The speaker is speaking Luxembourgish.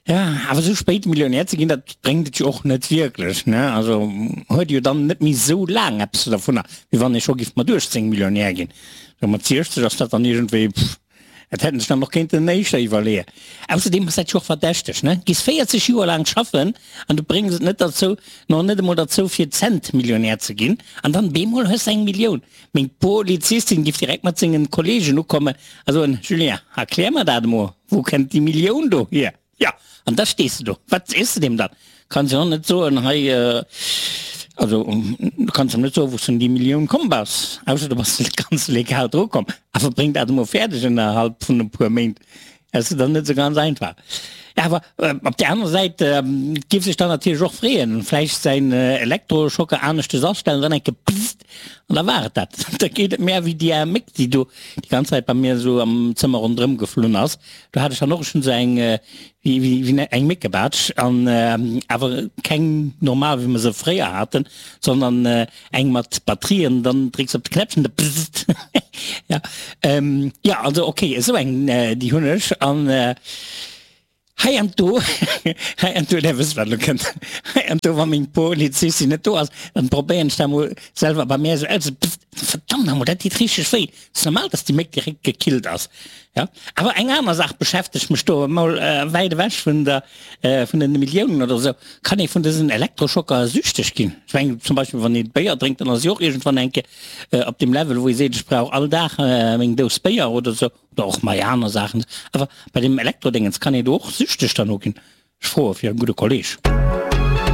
Ja, awer sou spéit Millionär ze ginn, dat bréngt et jo och net wierklech, ne? Also huet ee jo dann net méi sou laang eppes dovunner, wéi wann ee scho giff mat 18 Millionär ginn. Sou mat 60 ass dat dann iergendwéi, pff, dat hätt en sech dann och kéinten éischter iwwerleeën. Ausserdeem ass dat jo och verdächteg, ne? Giss 40 Joer laang schaffen an du bréngs et net derzou, nach net emol derzou fir Cent-Millionär ze ginn, an dann bemol hues de eng Millioun. Meng Polizistin giff direkt mat sengen Kollegen ukommen a soen, Julien, erklär mer dat emol, wou kennt déi Millioun do hier? Jo, an da stees de do, wat sees de deem dann? Kanns jo net soen, hei, also du kanns em net soen, wou s de un déi Millioun komm bass, ausser du bass ganz legal dru komm. Awer bréng dat emol fäerdeg ënnerhalb vun e puer Méint. Dat ass dann net esou ganz einfach. Awer op där anerer Säit giff sech dann natierlech och freeën, vläicht säin Elektroschocker aneschtes astellen, dann eng Kéier pssst an da war et dat. Da geet et mär wéi déi aer Méck, déi do déi ganz Zäit bei mir esou am Zëmmer ronderëm geflunn ass. Do hat ech dann och schonn esou eng wéi wéi eng Méckebaatsch an awer keng normal wéi mer se fréier haten, sondern Eng mat Batterien, dann drécks op de Knäppchen, da bzzzt. Ja, ähm, ja, also okay, esou eng, déi hunn ech an hei an do, hei an do, där wësst wat elo kënnt, hei an do, wa meng Polizistin net do ass, dann probéieren ech dat mol selwer bei mär esou aus, bzzzt, verdammt nach mol, dat deet richteg wéi. Ass normal, dass déi Méck direkt gekillt ass. Ja, awer eng aner Saach beschäftegt mech do, mol wäit ewech vun der, vun den Milliounen oder esou. Kann ee vun dësen Elektroschocker süchteg ginn? Ech mengen zum Beispill, wann ee Béier drénkt, dann ass ee och iergendwann eng Kéier op deem Level, wou ee seet, ech brauch all Dag meng Dous Béier oder esou, oder och mei aner Saachen. Awer bei deem Elektrodéngens, kann ee do och süchteg derno ginn? Ech froe fir e gudde Kolleg.